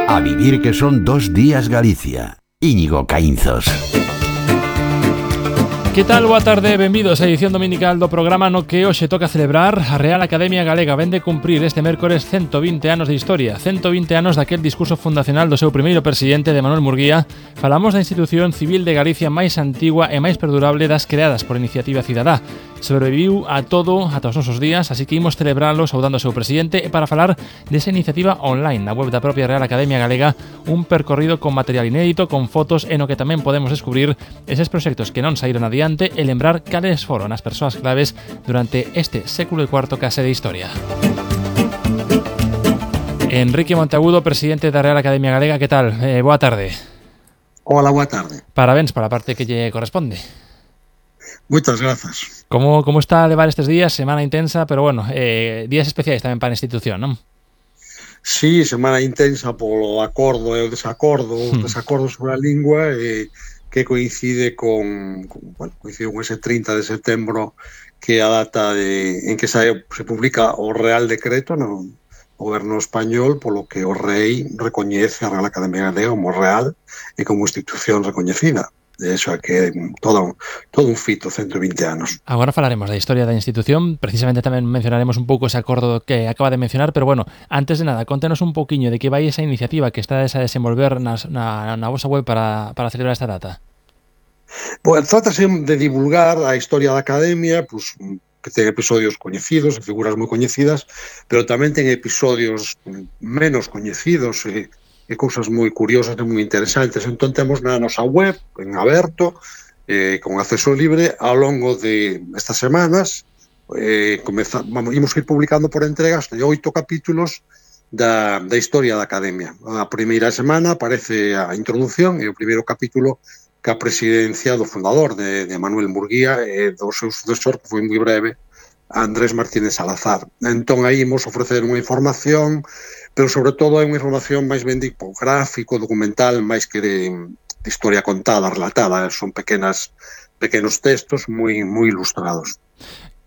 A vivir que son 2 días Galicia. Íñigo Caínzos. Que tal? Boa tarde, benvidos á edición dominical do programa no que hoxe toca celebrar. A Real Academia Galega vén de cumprir este mércores 120 anos de historia, 120 anos daquel discurso fundacional do seu primeiro presidente, de Manuel Murguía. Falamos da institución civil de Galicia máis antigua e máis perdurable das creadas por Iniciativa Cidadá. Sobreviviu a todo ata os nosos días, así que imos celebralo saudando ao seu presidente e para falar desa iniciativa online na web da propia Real Academia Galega, un percorrido con material inédito, con fotos e no que tamén podemos descubrir eses proxectos que non saíron adiante e lembrar cales foron as persoas claves durante este século IV case de historia. Enrique Monteagudo, presidente da Real Academia Galega, que tal? Boa tarde. Hola, boa tarde. Parabéns para a parte que lle corresponde. Moitas grazas. Como está a levar estes días? Semana intensa, pero bueno, días especiais tamén para a institución, non? Sí, semana intensa polo acordo e o desacordo, desacordo sobre a lingua que coincide con ese 30 de setembro, que é a data en que se publica o Real Decreto no goberno español, polo que o rei recoñece a Real Academia Galega como real e como institución recoñecida. De eso é que todo un fito, 120 anos. Agora falaremos da historia da institución, precisamente tamén mencionaremos un pouco ese acordo que acaba de mencionar, pero bueno, antes de nada, contenos un pouquiño de que vai esa iniciativa que está a desenvolver na vosa web para celebrar esta data. Pois trátase de divulgar a historia da Academia, pues, que ten episodios coñecidos, figuras moi coñecidas, pero tamén ten episodios menos coñecidos e cousas moi curiosas e moi interesantes. Entón temos na nosa web, en aberto, con acceso libre, ao longo de estas semanas, imos ir publicando por entregas de 8 capítulos da historia da Academia. A primeira semana aparece a introducción e o primeiro capítulo que a presidencia do fundador de Manuel Murguía e do seu sucesor, que foi moi breve, Andrés Martínez Salazar. Entón aí imos ofrecer unha información, pero sobre todo é unha información máis ben de gráfico, documental, máis que de historia contada, relatada. Son pequenos textos moi ilustrados.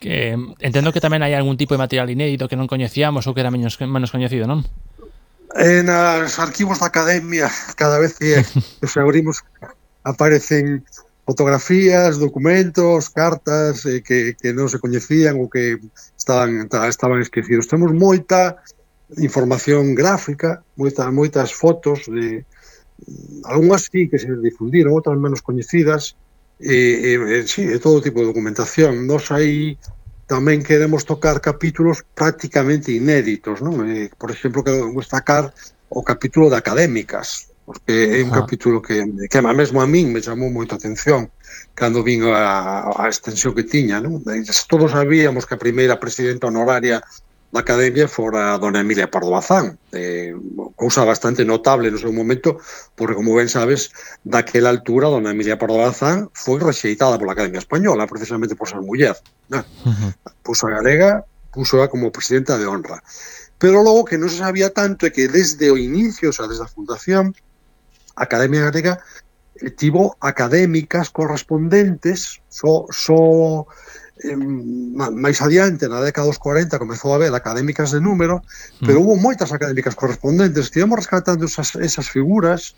Que entendo que tamén hai algún tipo de material inédito que non coñecíamos ou que era menos coñecido, non? Nos arquivos da Academia, cada vez que os abrimos, aparecen fotografías, documentos, cartas que non se coñecían ou que estaban esquecidos. Temos moita información gráfica, moitas fotos, algunhas sí que se difundiron, outras menos coñecidas, sí, de todo tipo de documentación. Nos aí tamén queremos tocar capítulos prácticamente inéditos, non? Por exemplo, quero destacar o capítulo de académicas, porque é un capítulo que mesmo a min me chamou moita atención cando vin a extensión que tiña, non? Todos sabíamos que a primeira presidenta honoraria da Academia fora a dona Emilia Pardo Bazán, cousa bastante notable no seu momento, porque, como ben sabes, daquela altura dona Emilia Pardo Bazán foi rexeitada pola Academia Española, precisamente por ser muller. Puso a galega, puso como presidenta de honra. Pero logo que non se sabía tanto é que desde o inicio, o sea, desde a fundación, a Academia Galega tivo académicas correspondentes, máis adiante, na década dos 40, comezou a haber académicas de número, pero hubo moitas académicas correspondentes. Estivemos rescatando esas figuras,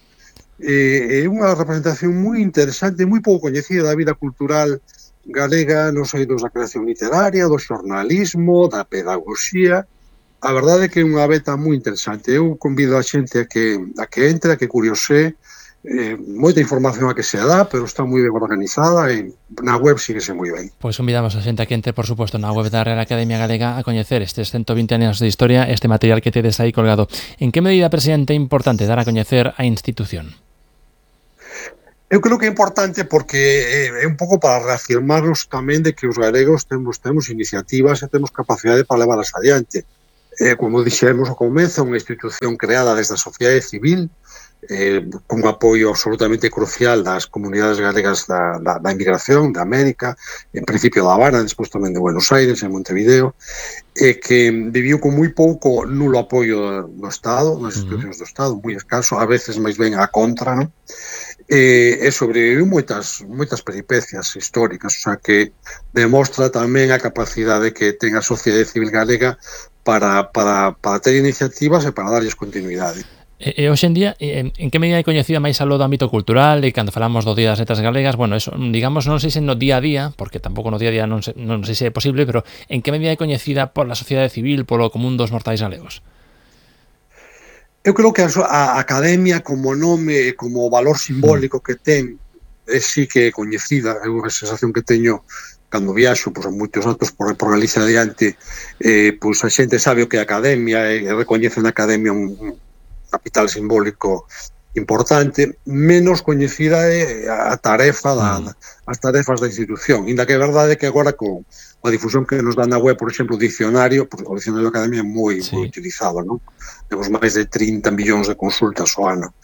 é unha representación moi interesante, moi pouco coñecida da vida cultural galega, nos eidos da creación literaria, do xornalismo, da pedagogía. A verdade é que é unha beta moi interesante. Eu convido a xente a que entre, a que curiose. Moita información a que se dá, pero está moi ben organizada e na web síguese moi ben. Pois convidamos a xente a que entre, por suposto, na web da Real Academia Galega a coñecer estes 120 anos de historia, este material que tedes aí colgado. En que medida, presidente, é importante dar a coñecer a institución? Eu creo que é importante porque é un pouco para reafirmarnos tamén de que os galegos temos iniciativas e temos capacidade para levarlas adiante. Como dixemos ao comezo, unha institución creada desde a sociedade civil, con apoio absolutamente crucial das comunidades galegas da emigración, da América, en principio da Habana, despois tamén de Buenos Aires, en Montevideo, que viviu con moi pouco nulo apoio do Estado, nas institucións do Estado, moi escaso, a veces máis ben a contra, non? E sobreviviu moitas peripecias históricas, o sea que demostra tamén a capacidade que ten a sociedade civil galega para ter iniciativas e para darlles continuidade. E hoxe en día, en que medida é coñecida máis aló do ámbito cultural e cando falamos do Día das Letras Galegas, bueno, eso, digamos, non sei se no día a día, porque tampouco no día a día non sei se é posible, pero en que medida é coñecida pola sociedade civil, polo común dos mortais galegos? Eu creo que a academia como nome, como valor simbólico que ten, sí que é coñecida. É unha sensación que teño cando viaxo, pois, a moitos atos por Galicia adiante, pois a xente sabe o que é a academia e recoñece na academia un capital simbólico importante. Menos coñecida é a tarefa as tarefas da institución, inda que é verdade que agora coa difusión que nos dá na web, por exemplo, o dicionario, porque o dicionario da academia é moi utilizado, non? Temos máis de 30 millóns de consultas ao ano.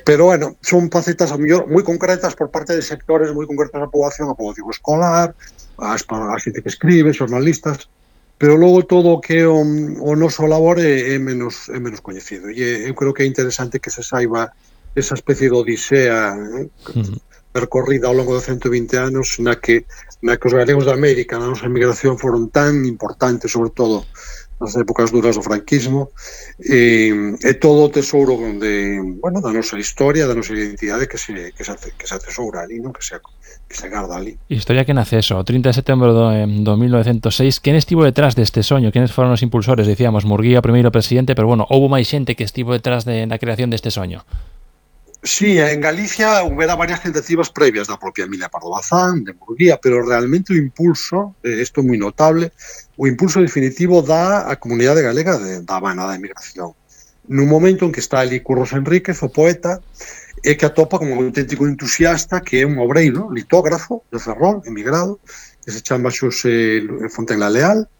Pero, bueno, son facetas a mellor moi concretas por parte de sectores moi concretas da poboación, a poboación escolar, a xente que escribe, xornalistas, pero logo todo o que o noso labor é menos coñecido. E eu creo que é interesante que se saiba esa especie de odisea percorrida ao longo de 120 anos na que os galegos da América, na nosa emigración, foron tan importantes, sobre todo nas épocas duras do franquismo, e todo o tesouro da nosa historia, da nosa identidade que se atesoura ali, non? Que se garda ali. Historia que nace eso, o 30 de setembro do 1906. Quen estivo detrás deste soño? Quenes foron os impulsores? Dicíamos, Murguía, o primeiro presidente, pero, bueno, houbo máis xente que estivo detrás da creación deste soño. Sí, en Galicia houbera varias tentativas previas da propia Emilia Pardo Bazán, de Murguía, pero realmente o impulso, isto é moi notable, o impulso definitivo da a comunidade galega da Habana, da emigración. Nun momento en que está ali Curros Enríquez, o poeta, e que atopa como un auténtico entusiasta que é un obreiro, litógrafo de Ferrol, emigrado, que se chama Xosé Fontenla Leal,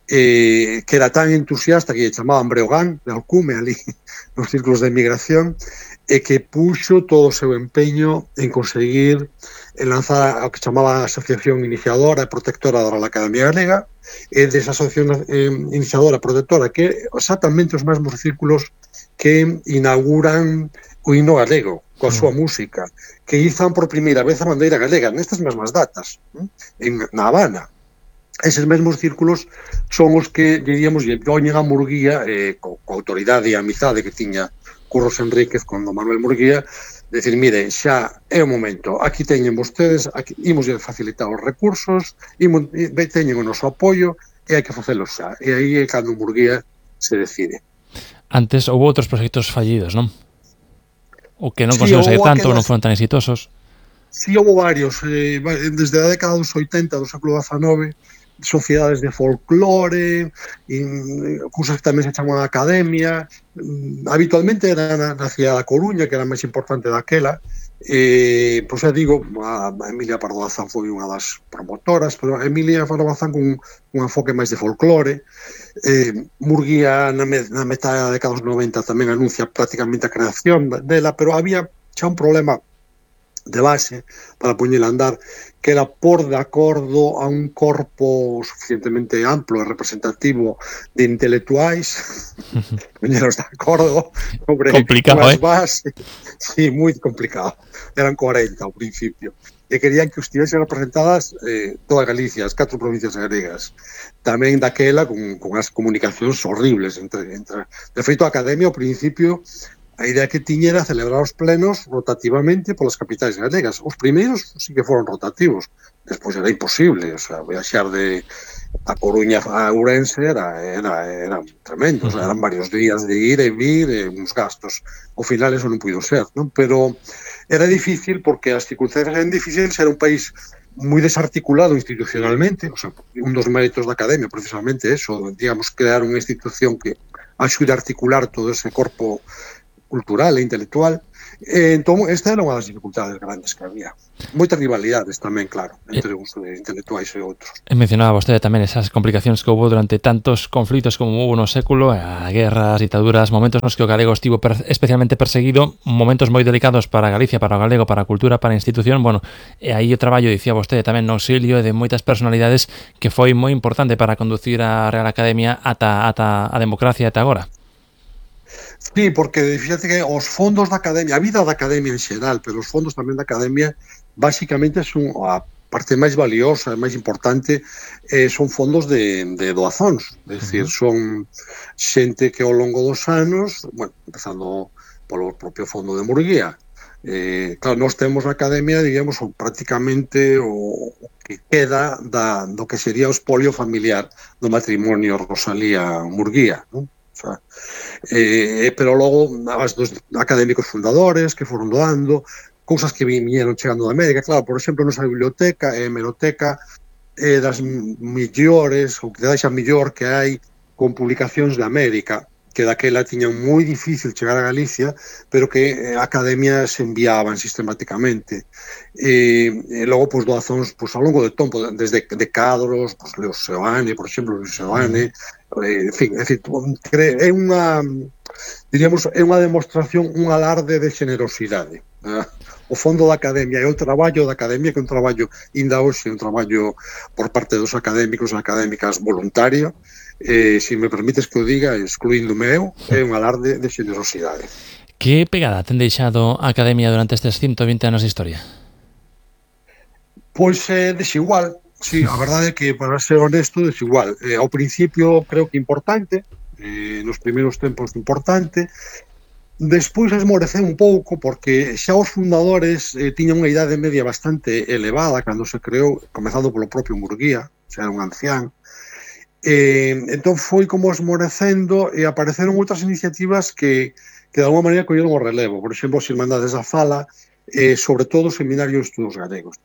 que era tan entusiasta que lle chamaban Breogán, de alcume ali nos círculos de emigración, e que puxo todo o seu empeño en conseguir lanzar o que chamaba a Asociación Iniciadora e Protectora da Real Academia Galega, e desa Asociación Iniciadora e Protectora que exactamente os mesmos círculos que inauguran o himno galego, coa súa música, que izan por primeira vez a bandeira galega nestas mesmas datas, na Habana. Eses mesmos círculos son os que, diríamos, lle poñen a Murguía, coa autoridade e a amizade que tiña Curros Enríquez con don Manuel Murguía, decir, mire, xa é o momento, aquí teñen vostedes, imos facilitar os recursos, teñen o noso apoio, e hai que facelo xa. E aí é cando Murguía se decide. Antes houve outros proxectos fallidos, non? O que non conseguiu sair tanto, non foron tan exitosos. Sí, houve varios. Desde a década dos 80 do século XIX, sociedades de folclore, cousas que tamén se chaman academia. Habitualmente era na cidade da Coruña, que era a máis importante daquela. Pois xa digo, a Emilia Pardo Bazán foi unha das promotoras, pero a Emilia Pardo Bazán con un enfoque máis de folclore. Murguía na metade da década dos 90 tamén anuncia prácticamente a creación dela, pero había xa un problema de base para poñela a andar, que era por de acordo a un corpo suficientemente amplo e representativo de intelectuais, poñeros de acordo sobre complicado, as bases. Sí, moi complicado. Eran 40 ao principio. E querían que estivesen representadas toda Galicia, as 4 provincias galegas. Tamén daquela con as comunicacións horribles entre. De feito, a Academia, ao principio, a idea que tiña era celebrar os plenos rotativamente polas capitais galegas. Os primeiros sí que foron rotativos, despois era imposible, o sea, viaxar de a Coruña a Ourense era tremendo, o sea, eran varios días de ir e vir, uns gastos. Ao final eso non puido ser, non? Pero era difícil porque as circunstancias eran difíciles, era un país moi desarticulado institucionalmente, o sea, un dos méritos da Academia precisamente eso, digamos, crear unha institución que axude a articular todo ese corpo cultural e intelectual. Entón, esta era unha das dificultades grandes que había. Moitas rivalidades tamén, claro, entre uns intelectuais e outros. Mencionaba vostede tamén esas complicacións que houve durante tantos conflitos como houve no século, a guerras, ditaduras, momentos nos que o galego estivo especialmente perseguido, momentos moi delicados para Galicia, para o galego, para a cultura, para a institución. Bueno, e aí o traballo, dicía vostede tamén, no auxilio de moitas personalidades que foi moi importante para conducir a Real Academia ata a democracia ata agora. Sí, porque fíjate que os fondos da Academia, a vida da Academia en xeral, pero os fondos tamén da Academia, basicamente son a parte máis valiosa, máis importante, son fondos de doazóns, é dicir, son xente que ao longo dos anos, bueno, empezando polo propio fondo de Murguía, claro, nós temos na Academia, digamos, prácticamente o que queda do que sería o espolio familiar do matrimonio Rosalía Murguía, non? O sea, pero logo as dos académicos fundadores que foron doando, cousas que viñeron chegando da América, claro, por exemplo, nosa biblioteca e hemeroteca das millores, ou que da millor que hai con publicacións de América, que daquela tiñan moi difícil chegar a Galicia, pero que a Academia se enviaban sistemáticamente. E logo, pois, doazóns ao longo do tempo, desde de cadros, pois, Leo Seoane, por exemplo, Luis Seoane, en fin, é dicir, é unha, diríamos, é unha demostración, un alarde de generosidade. O fondo da Academia e o traballo da Academia, que é un traballo, ainda hoxe, un traballo por parte dos académicos e académicas voluntario, se me permites que o diga, excluíndome eu, é un alarde de generosidade. Que pegada ten deixado a Academia durante estes 120 anos de historia? Pois desigual, sí, a verdade é que, para ser honesto, desigual. Ao principio creo que importante, nos primeiros tempos importante, despois esmoreceu un pouco porque xa os fundadores tiñan unha idade media bastante elevada cando se creou, comezando polo propio Murguía, xa era un ancián. Entón foi como esmorecendo e apareceron outras iniciativas que de alguma maneira colleron o relevo, por exemplo, as Irmandades da Fala, sobre todo o Seminario de Estudos Galegos.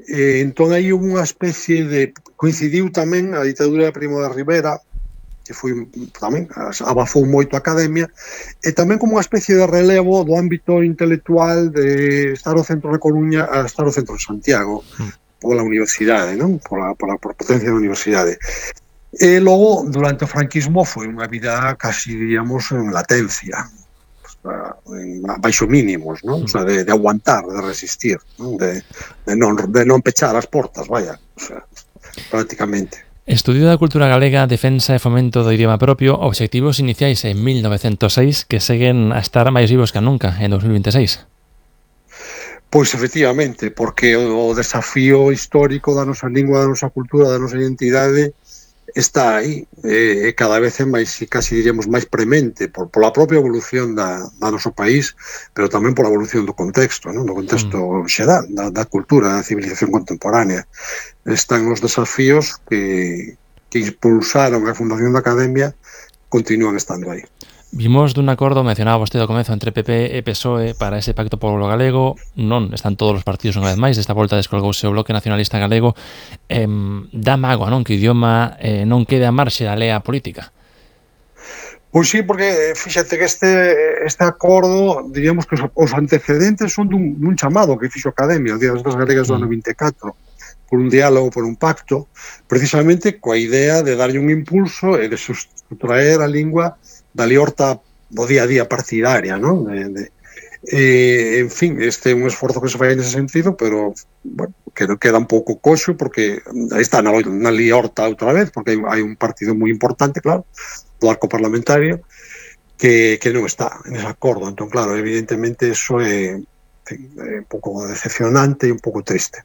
Entón aí unha especie de, coincidiu tamén a ditadura de Primo de Rivera, que foi tamén, abafou moito a Academia, e tamén como unha especie de relevo do ámbito intelectual de estar o centro de Coruña a estar o centro de Santiago, pola universidade, non? Pola potencia da universidade. E logo, durante o franquismo, foi unha vida casi, diríamos, en latencia, baixo mínimos, non? O sea, de aguantar, de resistir, non? De non pechar as portas, vaya, o sea, prácticamente. Estudio da cultura galega, defensa e fomento do idioma propio, obxectivos iniciais en 1906 que seguen a estar máis vivos que nunca en 2026. Pois efectivamente, porque o desafío histórico da nosa lingua, da nosa cultura, da nosa identidade está aí, cada vez é máis, casi diríamos, máis premente pola propia evolución da noso país, pero tamén pola evolución do contexto, non? Do contexto xeral, da cultura, da civilización contemporánea. Están os desafíos que impulsaron a fundación da Academia, continúan estando aí. Vimos dun acordo, mencionaba vostede ao comezo, entre PP e PSOE para ese pacto polo galego. Non están todos os partidos unha vez máis, desta volta descolgouse o Bloque Nacionalista Galego. Dá mágoa, non, que o idioma non quede a marxe da lea política? Pois sí, porque fíxate que este acordo, diríamos que os antecedentes son dun chamado que fixo a Academia, o Día das Galegas do ano 24, por un diálogo, por un pacto, precisamente coa idea de darlle un impulso e de sustraer a lingua da liorta do día a día partidaria, non? En fin, este é un esforzo que se fai nese sentido, pero, bueno, que queda un pouco coxo, porque aí está na liorta outra vez, porque hai un partido moi importante, claro, do arco parlamentario, que non está nese acordo. Entón, claro, evidentemente, eso é un pouco decepcionante e un pouco triste.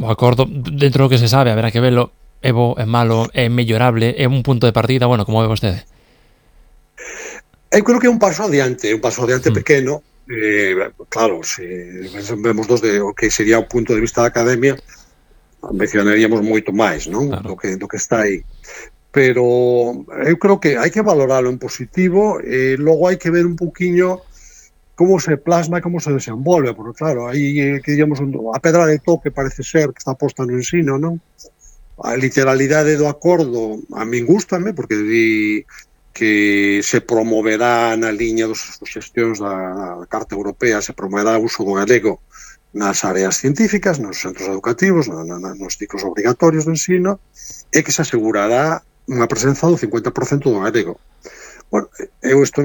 O acordo, dentro do que se sabe, haberá que velo, é bo, é malo, é mellorable, é un punto de partida, bueno, como ve vostede? Eu creo que é un paso adiante pequeno. Claro, se vemos o que sería o punto de vista da Academia, mencionaríamos moito máis, non? Claro. Do que está aí. Pero eu creo que hai que valoralo en positivo e logo hai que ver un pouquiño como se plasma e como se desenvolve, porque claro, aí que digamos a pedra de toque parece ser que está posta no ensino, non? A literalidade do acordo a min gústame, porque di que se promoverá na liña das xestións da Carta Europea, se promoverá o uso do galego nas áreas científicas, nos centros educativos, nos ciclos obrigatorios do ensino, e que se asegurará unha presenza do 50% do galego. Bueno, eu este